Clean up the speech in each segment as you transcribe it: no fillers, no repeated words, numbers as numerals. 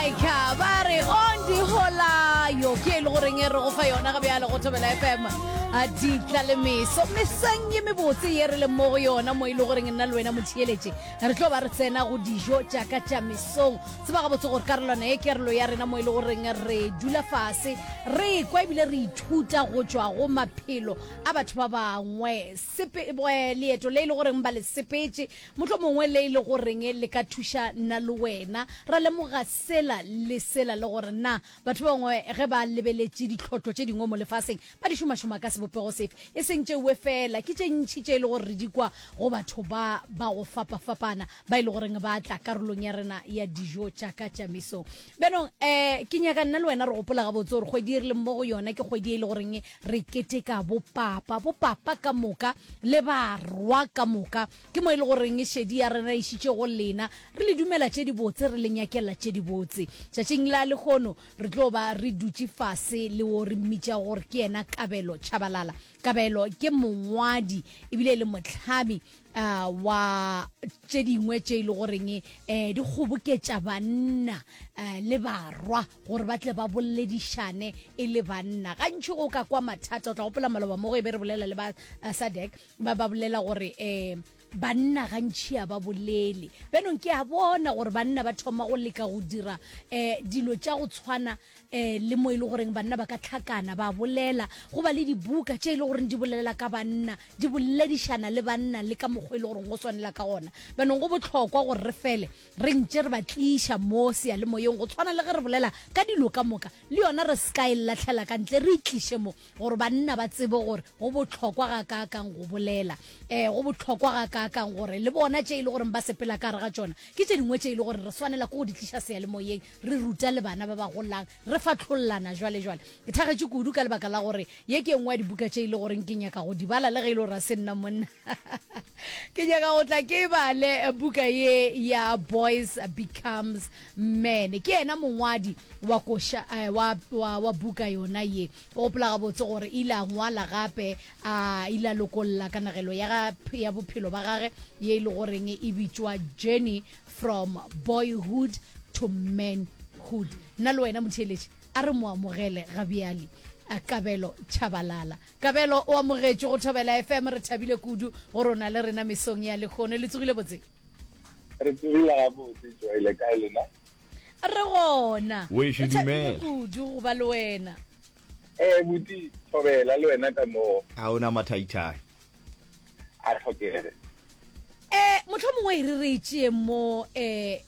Malaika ba re on diholayo ke e le goreng e re go fa yona ga bjale go Thobela FM a ditla le meso mesang ye mebotse ye re leng mo go yona mo e le goreng nna le wena motheeletše re tlo ba re tsena go dijo tša ka tša mesong tseba gabotse gore karolwana ye kerolo ya rena mo e le goreng re dula fase re kwa ebile re ithuta go tšwa go maphelo a batho ba bangwe sepe leeto le e le goreng ba le sepetše Mohlomongwe le e le goreng le ka thuša nna le wena ra lemoga sela le sela, le gore na batho ba bangwe ge ba lebeletše ditlhotlo tše dingwe mo lefaseng ba di šomašoma ka sebopego sefe. E seng tšeoe feela, ke tše ntši tše e le gore re di kwa go batho ba ba go fapafapana ba e le goreng ba tla karolong ya rena ya dijo tša ka tša mesong. Bjanong um ke nyaka nna le wena re gopola gabotse gore kgwedi e re leng mo go yona ke kgwedi e le goreng re keteka bopapa, bopapa ka moka le barwa ka moka. Ke mo e le goreng šedi ya rena e išitše go lena, re le dumela tše dibotse, re le nyakela tše dibotse. Tšatšing la lehono re tlo ba re dutše fase le wo re mmitšago gore ke yena Kabelo Tshabalala. Kabelo ke mongwadi ebile e le mohlami uh, wa tše dingwe tše e le goreng um di kgoboketša banna uh, le barwa gore ba tle ba boledišane e le banna. Gantši go ka kwa mathata, o tla gopola maloba mo go e be re bolela le ba uh, SADC ba ba bolela gore um banna gantši a ba bolele. Bjanong ke a bona gore banna ba thoma go leka go dira um dilo tša go tshwana um le mo e le goreng banna ba ka tlhakana ba bolela, go ba le dibuka tše e le goreng di bolela ka banna, di boledišana le banna le ka mokgwa e le goreng go swanela ka gona. Bjanong go bohlokwa gore re fele re ntše re ba tliša mo seyalemoyeng go tshwana le ge re bolela ka dilo ka moka, le yona re se ka e lahlela ka ntle, re e tliše mo gore banna ba tsebe gore go bohlokwa gakaakang go bolela, um go bohlokwa gakaakang gore le bona tše e le goreng ba sepela ka gare ga tšona ke tše dingwe tše e le gore re swanela ke go di tliša seyalemoyeng, re ruta le bana ba ba golang, re fahlollana jwale jwale. Ke thagetše kudu ka lebaka la gore ye ke e nngwe ya dibuka tše e le goreng ke nyaka go di bala le ge e le gore ga se nna monna. Ke nyaka go tla ke e bale buka ye ya Boys Becomes Men. Ke yena mongwadi wa koša, eh, wa, wa, wa buka yona ye. O gopola gabotse gore ile a ngwala gape a ile a lokolla kanegelo ya, ga, ya bophelo ba gage ye e le goreng e bitšwa Journey from Boyhood to Manhood. Nna le wena motheeletši a re mo amogele ga bjale. Kabelo Tshabalala. Kabelo o amogetšwe go Thobela FM. Re thabile kudu gore o na le rena mesong ya lehono. Le tsogile botse? Re tsogile gabotse, Joy. Le kae lena? Re gona. Wešo Re thabile dumela. kudu go ba le wena. Eh, buti, Thobela le wena ka moo. A o na mathaithai. A tlhokege. Eh, mohlomongwe e re re e tšee mo eh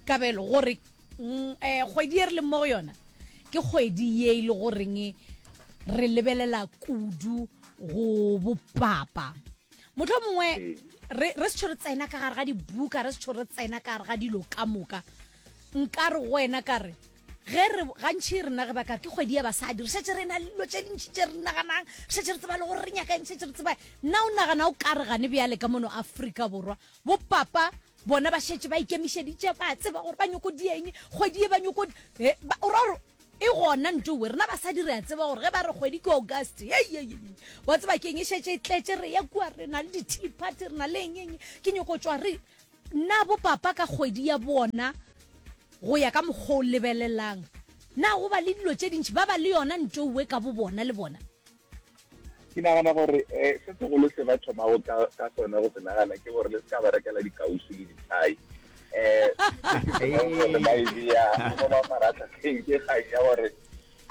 Kabelo gore mm, eh kgwedi e re leng mo go yona ke kgwedi ye e le goreng re lebelela kudu go bopapa. Mohlomongwe re re se re tsena ka gare ga dibuka, re se re tsena ka gare ga dilo ka moka. Nka re go wena ka re ge re gantši rena ge ba ka ke kgwedi ya basadi re šetše re na le dilo tše dintši tše re naganang, re šetše re tseba le gore re nyaka eng, šetše re tseba. Nna o nagana o ka re gane bjale ka mono Afrika Borwa bopapa bona ba šetše ba ikemišeditše, ba tseba gore ba nyoko dieng kgwedi ye ba nyoko o ra gore e gona ntowe. Rena basadi re a tseba gore ge ba re kgwedi ke August, hei, hei, hei, wa tseba keng, e šetše e tletše, re ya kua, re na le di-tea party, re na le eng, eng, ke nyoko tšwa re na bopapa ka kgwedi ya bona go ya ka mokgwa o lebelelang. Na go ba le dilo tše dintši ba ba le yona ntowe ka bo bona le bona? Ke nagana gore um se segolo se ba thomago ka ka sona go se nagana ke gore le se ka ba rekela dikausu le dithai. Um gore ba e bea mo mafaratlhatlheng ke kgang ya gore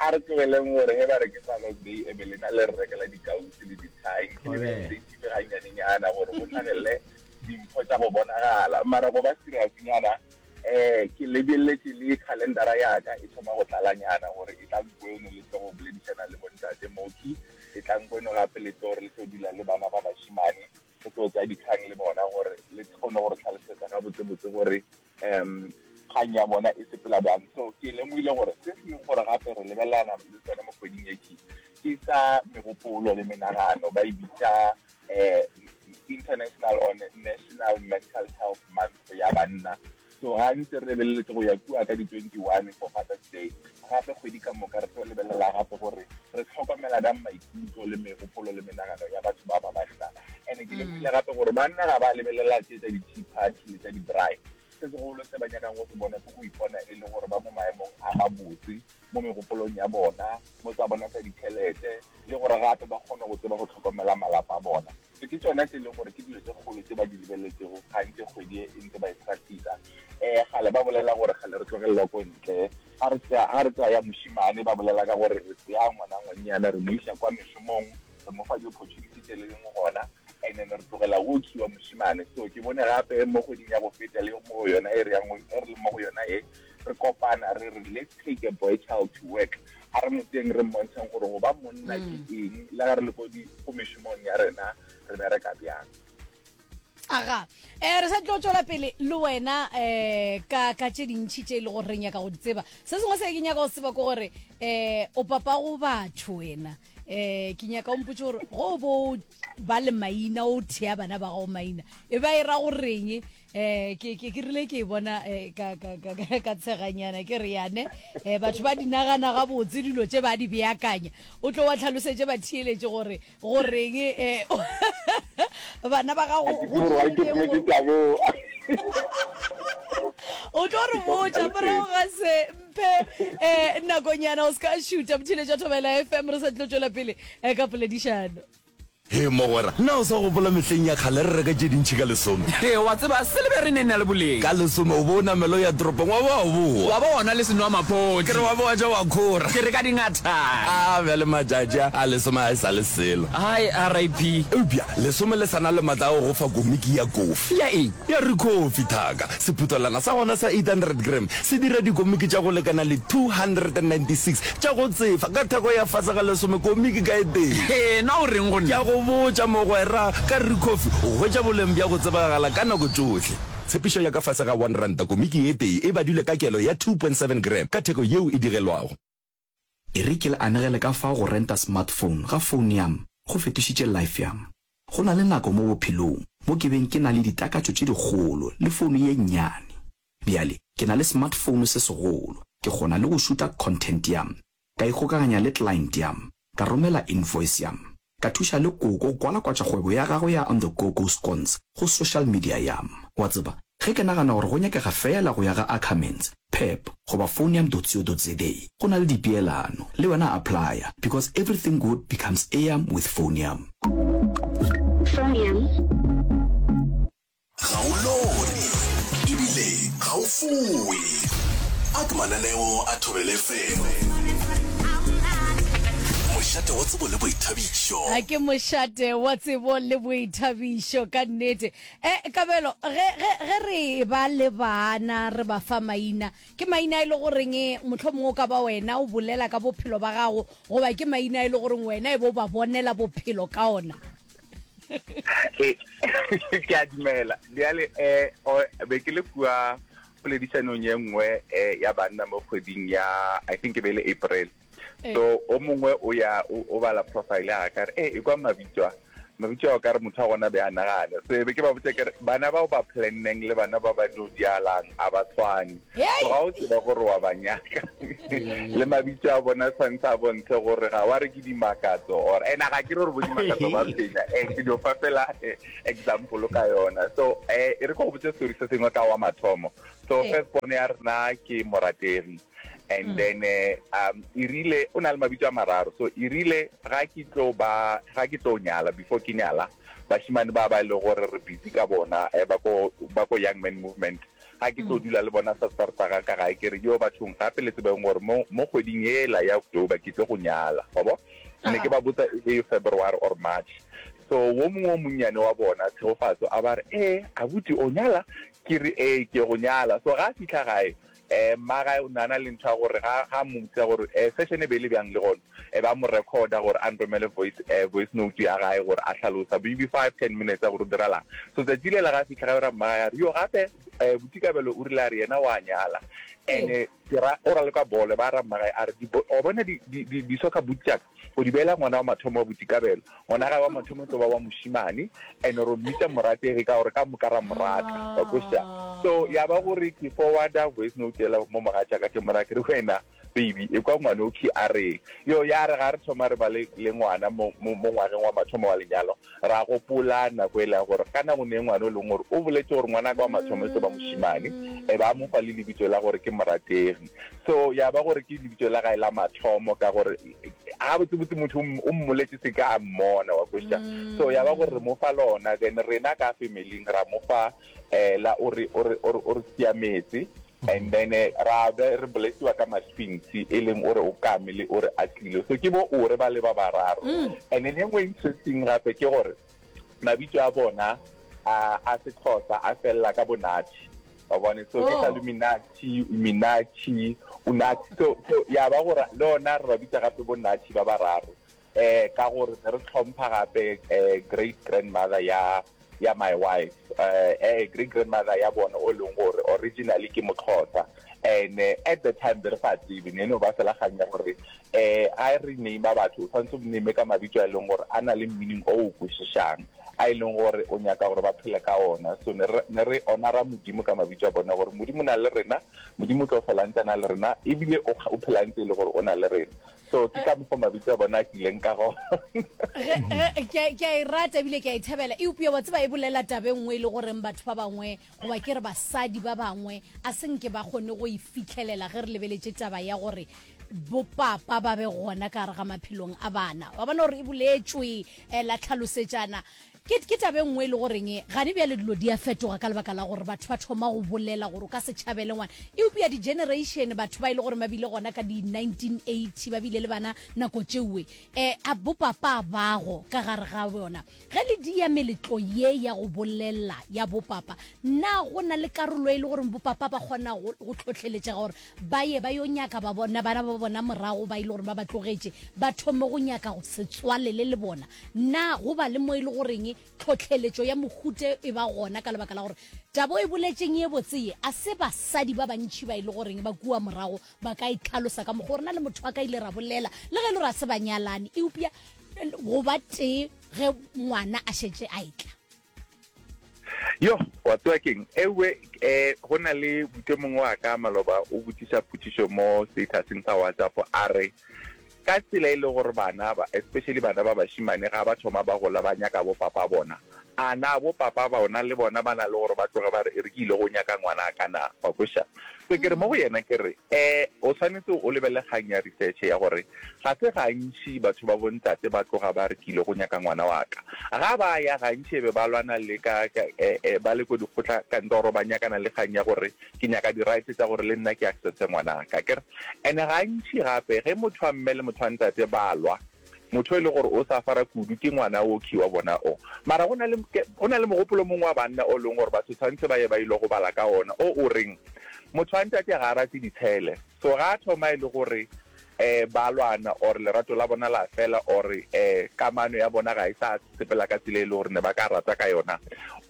a re tlogeleng gore ge ba re ke Father's Day e be lena le re rekela dikausu le dithai. Ke le sensitive gannyanenyana gore go hlagelele dimpho tša go bonagala. Mara go ba serious-nyana um ke lebeletše le calendara ya ka e thoma go tlalanyana gore e tlang kweno le tlo go boledišana le bontate Mooki, e tlang kweno gape le tlo gore le tlo dula le bana ba bašemane, re tlo tsaya dikgang le bona gore le kgone go re tlhalosetsa gabotsebotse gore um kgang ya bona e sepela bjang. So ke lemogile gore se sengwe gore gape re lebelelana le sone mo kgweding e ke ke sa megopolo le menagano, ba e bitša eh, International or National Mental Health Month ya banna. So ga ntse re lebeleletse go ya kua ka di-21 for Father's Day, gape kgwedi ka moka re tlo lebelela gape gore re tlhokomela bjang maikutlo le megopolo le menagano ya batho ba ba banna. And-e ke lemogile gape gore banna ga ba lebelela tše tša di-tea party le tša di-braai, se segolo se ba nyakang go se bona ke go ipona e le gore gabotse mo megopolong ya bona, mo tsa bona tsa ditšhelete, le gore gape ba kgone go tseba go hlokomela malapa a bona. So ke tšona tše e leng gore ke dilo tše kgolo tše ba di lebeletšego ga ntše kgwedi e e ntse ba e practice. Um kgale ba bolela gore kgale re tlogelelwa ko ntle, ga re tsea ga re tsea ya mošemane ba bolela ka gore re tsea ngwana ngwannyana re mo iša kwa mešomong, re mo fa di-opportunity tše leng gona and then re tlogela go wa mošemane. So ke bone gape mo kgweding ya go feta le mo go yona e re yang e re leng mo go yona e, re kopana re re let's take a boy child to work, a re mo tseeng re mmontsheng gore go ba monna ke eng, le ge re le ko di ko mešomong ya rena re bereka bjang. Aga, eh, re sa tlo tšwela pele le wena eh, ka, ka tše dintšhi tše e le gore re nyaka go di tseba. Se sengwe se ke nyaka go se tseba ke gore eh, o papa go batho wena. Eh, ke nyaka o mpotse gore go bo ba le maina o thea bana ba gago maina e ba e ra goreng eh ke ke ke rile ke e bona eh, ka ka ka ka ka tsheganyana ke re yane eh batho ba di nagana gabotse dilo tše ba di beakanya o tlo wa tlhalosetše ba theeletše gore goreng eh bana ba gago go tlo o tlo re botša morago ga se mphe um nakonyana o se ka šuta motheeletša thobela fm re sa tlo tšwela pele eh, ka poledišano Hee mogwera, na o sa gopola mehleng ya kgale re reka tše dintši ka lesome? Hee wa tseba, se le be re ne na le boleng. Ka lesome o bo o namela o ya toropong wa ba wa boa. Wa ba wa nwa le senwamaphodi. Ke re wa ba wa ja wa khora. Ke re ka dingathana. A bjale matšatši a, a lesome ga e sa le selo. Hai, RIP. Eupša lesome le sa na le matla a go go fa komiki ya kofi. Ya eng? Ya Ricoffy, thaka. Sephuthelwana sa gona sa 800 gram se dira dikomiki tša go lekana le 296 tša go tsefa ka theko ya fase ga lesome komiki ka e tee. Hee, na o reng go nna? Ke a go botša, mogwera, ka Ricoffy o hwetša boleng bja go tsebagala ka nako tšohle. Tshepišo ya ka fase ga R1 komiki e tee e badilwe ka kelo ya 2.7 gram ka theko yeo e digelwago. E re ke le anegele ka fao go renta smartphone ga phone yam go fetošitše life yam. Go na le nako mo bophelong mo ke beng ke na le ditakatšo tše dikgolo le founu ye nnyane. Bjale ke na le smartphone se segolo, ke kgona le go šuta content yam, ka ikgokaganya le client yam, ka romela invoice yam, ka thuša le koko go kwalakwatša kgwebo ya gagwe ya On The Go Go Scones go social media yam. Wa tseba, ge ke nagana gore go nyakega feela go ya ga Ackermans, Pep goba Phonium.co.za go na le dipeelano, le wena applya because everything good becomes eam with Phonium. Phonium. Ga o lore ebile ga o fowe. A ke mananeo a Thobela FM. Mošate wa tsebo le boithabišo. A ke mošate wa tsebo le boithabišo ka nnete. E, Kabelo, ge, ge, ge re ba le bana re ba fa maina, ke maina a e le goreng mohlomongwe o ka ba wena o bolela ka bophelo ba gago, goba ke maina a e le goreng wena e be o ba bonela bophelo ka ona? Ee, ke a dumela. Bjale, um be ke le kua poledišanong ye nngwe um ya banna mo kgweding ya, I think e be e le April. So o mongwe o ya o bala profile ya ka re, e e kwa mabitso a mabitso a ka re motho a gona be a nagana. So e be ke ba botsa ke re bana bao ba planneng le bana ba ba no dialang a ba tshwane. So ga o tseba gore wa ba nyaka le mabitso a bona tshwanetse a bontshe gore ga wa re ke dimakatso or ena ga ke re gore bo dimakatso ba phenya eh ke dio fa fela eh, example ka yona. So eh e re ko go botse story se sengwe ka wa mathomo. So first born ya rena ke morategi. And then eh, um e rile o na le mabitso a mararo so e rile ga ke tlo ba ga ke tlo nyala before ke nyala bashimane ba ba e le gore re busy ka bona eh, ba ko ba ko young man movement ga ke tlo dula le bona sa starta ga ka gae ke re yo bathong gape le tsebeng gore mo mo kgweding ela ya October ke tlo go nyala wa bo ne ke ba botsa e le February or March so wo mongwe o monnyane wa bona Tshegofatso a ba re eh abuti o nyala ke re ee ke go nyala so ga a fitlha gae Eh, mmagae o ne a na le ntho ya gore ga, ga a mmotsa gore eh, session e be e le bjang le gona, e ba mo recorda gore a nromele voice, eh, voice note ya gae gore a hlalosa maybe five, ten minutes ya gore o diralang. So tsatsi lela ga a fihla gae ra mmagae a re, yo gape eh, Buti Kabelo o rile a re yena wa nyala. And ke ra, o raloka bolo, ba ra mmagae a re, di, o bona di, di, di, di soccer boot tša ka, o di beela ngwana wa mathomo wa Buti Kabelo. Ngwana gae wa mathomo e tlo ba wa mošemane, and ro mmitša Morategi ka gore ka moka ra mo rata, wa kwešiša? So ya ba gore ke forwarda voice note yela mo mogatšaka, ke mo raya ke re, wena. Baby, ekwa ngwanokhwi a reng. Yo, ya re ga re thoma re ba le, le ngwana mo, mo, mo ngwageng wa mathomo wa lenyalo, ra gopola nako e la gore ka nako ne ngwana o leng gore o boletše gore ngwanaka wa mathomo e tlo ba mošemane, e ba mo fa le lebitso la gore ke Morategi. So ya ba gore ke lebitso la gae la mathomo ka gore gabotsebotse motho o mmoletše se ka a mmona, wa kwešiša. So ya ba gore re mo fa lona, then rena ka familing ra mo fa um la o re, o re, o re, o re siametse. And then ra be re blessiwa ka ma-twins e leng o re o kame le o re atlile. So ke bo ore ba le ba bararo. And then e nngwe interesting gape ke gore mabitso a bona a a Sexhosa a fella ka bo Nathi. Wa bone? So ke Saluminati, Uminathi, Unathi. So so ya ba gore le ona re ba bitsa gape bo Nathi ba bararo. Eh ka gore ne re tlhompha gape eh great grandmother ya ya my wife eh eh great grandmother ya bona o leng gore originally ke Moxhosa and eh, at the time be re sa tsebe ne no ba fela kgang ya gore eh a re name batho o tshwanetse o name ka mabitso a e leng gore a na le meaning o o kwešišang a e leng gore o nyaka gore ba phele ka ona. So ne re ne re honora Modimo ka mabitso a bona gore Modimo o na le rena, Modimo o tlo fela ntse a na le rena ebile o o phela ntse e le gore o na le rena. So ke ka mokgwa mabitso a bona a tlileng ka gona. Ke a e rata ebile ke a e thabela, eupša wa tseba e bolela taba e nngwe e le goreng batho ba bangwe goba ke re basadi ba bangwe a se nke ba kgone go e fihlelela ge re lebeletše taba ya gore bopapa ba be gona ka gare ga maphelong a bana. Wa bona gore e boletšwe eh, la tlhalosetšana. Ke, ke taba e nngwe e le goreng gane bjale dilo di a fetoga ka lebaka la gore batho ba thoma go bolela gore o ka se tšhabele ngwana. Eupša di-generation batho ba e le gore ba bile gona ka di-1980 ba bile le bana nako tšeoe, um a bopapa bago ka gare ga bona. Ge le dia meletlo ye ya go bolela ya bopapa, na go na le karolo e le gore bopapa ba kgona go, go tlhohleletšega gore ba ye ba yo nyaka ba bona bana ba bona morago ba e le gore ba ba tlogetše, ba thome go nyaka go se tswalele le bona? Na go ba le mo e le goreng tlhohleletšo ya mohuta e ba gona ka lebaka la gore taba o e boletšeng ye botse ye a se basadi ba bantši ba e le goreng ba kua morago ba ka e tlhalosa ka mokgwa o rena le motho wa ka ile ra bolela le ge e le gore a se banyalane eupša go ba tee ge ngwana a šetše a etla? Yo, wa tseba keng? Ewe, eh, go na le buti mongwe wa ka maloba o botšiša potšišo mo statuseng sa WhatsApp a re, Ka tsela e le gore bana ba, especially bana ba bašemane ga ba thoma ba gola ba nyaka bo papa bona, a na bo papa bona le bona ba na le gore ba tloge ba re e re ke ile go nyaka ngwanaka na? Wa kweša? So ke re mo go yena ke re, eh, o swanetše o lebelele kgang ya research ya gore ga se gantši batho ba bontate ba tloga ba re ke ile go nyaka ngwana wa ka. Ga ba ya gantši e be ba lwana le ka, ka, eh, eh, ba le ko dikgotla kantoro ba nyakana le kgang ya gore ke nyaka di-rights tša gore le nna ke accesse ngwanaka, akere? And-e gantši gape ge motho wa mme le motho wa ntate ba lwa, motho e le gore o safara kudu ke ngwana okhwi wa bona o. Mara go na le, go na le mogopolo mongwe wa banna o leng gore batho tshwanetse ba ye ba ile go bala ka ona, o o reng motho wa ntate ga a rate ditshele. So ga a thoma e le gore um ba lwana or lerato la bona la fela or um kamano ya bona ga e sa sepela ka tsela e le gore ne ba ka rata ka yona,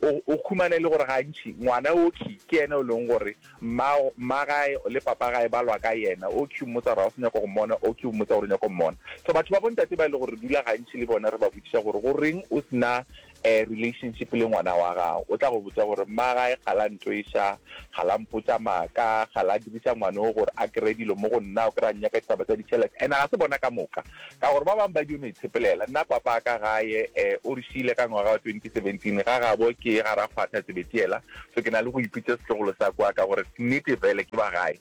o, o khumana e le gore gantši ngwana okhwi ke yena o leng gore Mma, mmagae le papagae ba lwa ka yena. Oki o mmotsa gore ga o sa nyaka go mmona, Oki o mmotsa gore o nyaka go mmona. So batho ba bontate ba e le gore re dula gantši le bona re ba botšiša gore goreng o se na relationship le ngwana wa gago, o tla go botša gore mmagae ga la ntweša, ga la mpotša maaka, ga la diriša ngwana o gore a kry-e dilo mo go nna, o kry-a nnyaka ditaba tsa ditšhelete. And ga se bona ka moka. Ka gore ba bangwe ba dio no itshepelela. Nna papa ka gae o re šiile ka ngwaga wa 2017, ga gabo ke ga Rakgwatha Tsebetiela, so ke na le go ipitša setlogolo sa kwa ka gore nnete fele ke ba gae.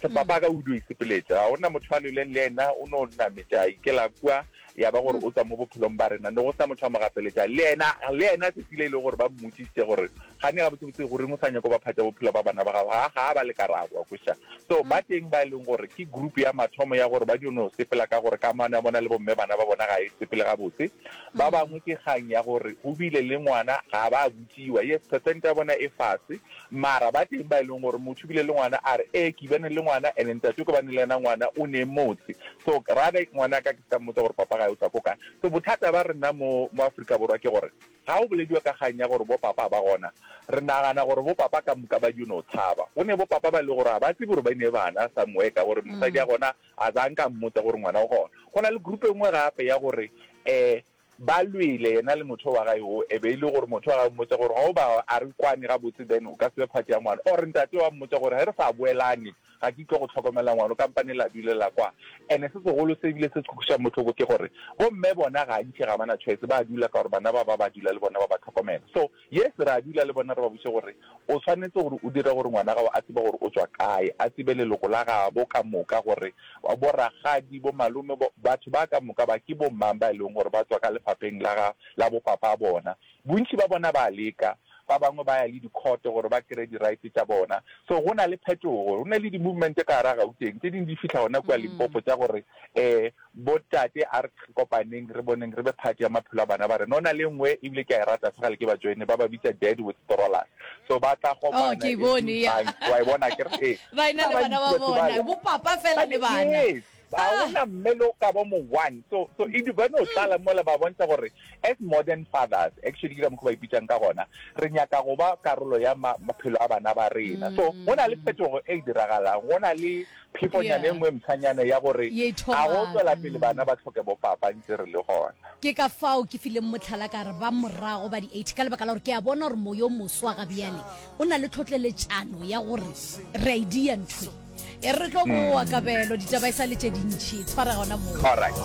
Papa ka o dio itshepeletša, ga gona motho a lweleng le yena, o no nametša a ikela kua, ya ba gore o tswa mo bophelong ba rena, ne go sena motho a mo gapeletša. Le yena, le yena tsatsi le e le gore ba mmotšišitše gore gane gabotsebotse goreng o sa nyake go ba phatša bophelo ba bana ba gago, ga ga a ba le karabo, wa kwešiša. So ba teng ba e leng gore ke group ya mathomo ya gore ba dio no sepela ka gore kamano ya bona le bomme bana ba bona ga e sepele gabotse. Ba bangwe ke kgang ya gore go bile le ngwana ga ba botšiwa. Yes, percent ya bona e fase, mara ba teng ba e leng gore motho o bile le ngwana a re ee ke bane le ngwana and ntate o ke bane le yena ngwana o ne motse. So rather ngwanaka ke se ka mmotsa gore papa gae o tswa ko kae. So bothata ba rena mo mo Afrika Borwa ke gore Ga go bolediwa ka kgang ya gore bo papa ba gona, re nagana gore bo papa ka moka ba dio no tshaba. Go ne bo papa ba e le gore ga ba tsebe gore ba ne bana somewhere ka gore mosadi ya gona a zanka a mmotsa gore ngwana o gona. Go na le group e nngwe gape ya gore um ba lwele yena le motho wa gae o, e be e le gore motho wa gae o mmotsa gore ga o ba a re kwane gabotse then o ka se be part ya ngwana or ntate wa mmotsa gore ge re sa boelane. Ga ke tlo go hlokomela ngwano, kampane la dulela kwa. And-e se segolo se ebile se se kwešang bohloko ke gore bomme bona gantši ga ba na choice, ba dula ka gore bana ba ba ba dula le bona ba ba hlokomela. So yes, re a dula le bona re ba botše gore o swanetše gore o dire gore ngwana gago a tsebe gore o tšwa kae, a tsebe leloko la gabo ka moka gore bo rakgadi, bo malome, bo batho ba ka moka ba ke bo mang ba e leng gore ba tšwa ka lefapheng la ga la bo papa bona. Bontši ba bona ba a leka, ba bangwe ba ya le di-court gore ba kry-e di-rights tša bona. So go na le phetogo, go na le di-movement ka gara Gauteng, tše dingwe di fihla gona kua Limpopo tša gore um bo tate a re kopaneng re boneng re be part ya maphelo a bana ba rena. Go na le e nngwe ebile ke a e rata segale ke ba join-e, ba ba bitsa Dad with Strollers. So ba tla Oh, kopana ke e every bone, ya. month, wa e bona akere? Ee. Ba ena Ba le bana bantši ba batho bona, bale. bo papa fela le bana. Yes. Ga gona mme le o ka ba mo one. So, so e ba no tlala mola ba bontšha gore as modern fathers, actually ke ka mokgwa ba ipitšang ka gona, re nyaka go ba karolo ya ma, maphelo a bana ba rena. So go na le phetogo e diragalang, go na le phefonyana e nngwe e mpshanyana ya gore Ye ga go thomang. tswela pele bana ba hloke bopapa ntse re le gona. Ke ka fao ke fileng mohlala ka re ba morago ba di-80 ka lebaka la gore ke a bona gore moyo o moswa ga bjale o na le tlhotleletšano ya gore re a e dia ntho e. E re re tlo boa kabelo ditaba e sa le tše dintši tshwara gona moo. Alright.